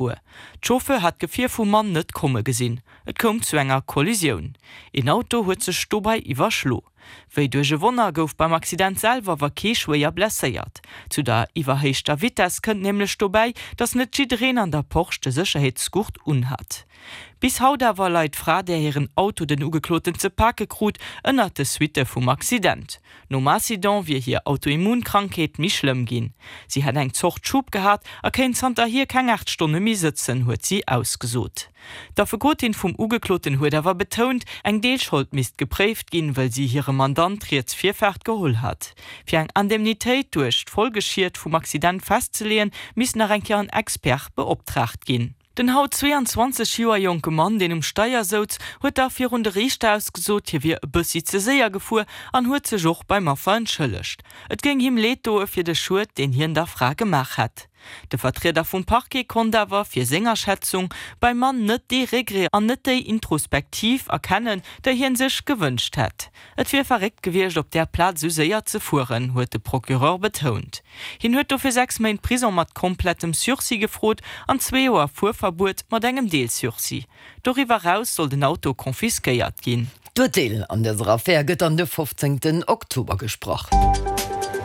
gefuer. D'Chauffeur hat d'Gefier vum Mann net komme gesinn. Et koum zu enger Kollisioun. Een Auto huet sech dobei iwwerschlo. Wéi duerch e Wonner gouf beim Accident selwer awer kee schwéier blesséiert. Zu der iwwerhéichter Vitess kënnt nämlech dobäi, dass net jiddereen an der Porsche de Sécherheetsgurt unhat. Bis haut awer leit d'Fra, där hiren Auto den Ugekloten ze pake krut, ënnert de Suitte vum Accident. Nom Accident wier hir Autoimmunkrankheet méi schlëmm ginn. Si hätt eng Zort Schub gehat a kéint zanterhier keng 8 Stonne méi sëtzen, huet si ausgesot. D'Affekotin vum Ugekloten huet awer betount, eng Deelschold misst gepréift ginn, wëll si hirem Mandant riets Virfaart geholl hat. Fir eng Indemnitéit duerch d'Folgeschied vum Accident festzeleeën, misst nach eng Kéier en Expert beoptraagt ginn. Den haut 22 Joer jonke Mann, deen um Steier souz, huet da virun de Riichter ausgesot, hie wier e bëssi ze séier gefuer an huet sech och beim Affer entschëllegt. Et géing him leed doe fir de Schued, deen hien der Fra gemaach hätt. De Vertrieder vum Parquet konnt awer, fir seng Aschätzung, beim Mann net dee Regret an net déi Introspektiv erkennen, déi hien sech gewënscht hätt. Et wier verréckt gewiescht, op där Plaz esou séier ze fueren, huet de Procureur betount. Hien huet dofir 6 Méint Prison mat komplettem Sursis gefrot an zwee Joer Fuerverbuet mat engem Deel-Sursis. Doriwwer eraus soll den Auto confisquéiert ginn. D'Urteel an dëser Affär gëtt dann de 15 Oktober gesprach.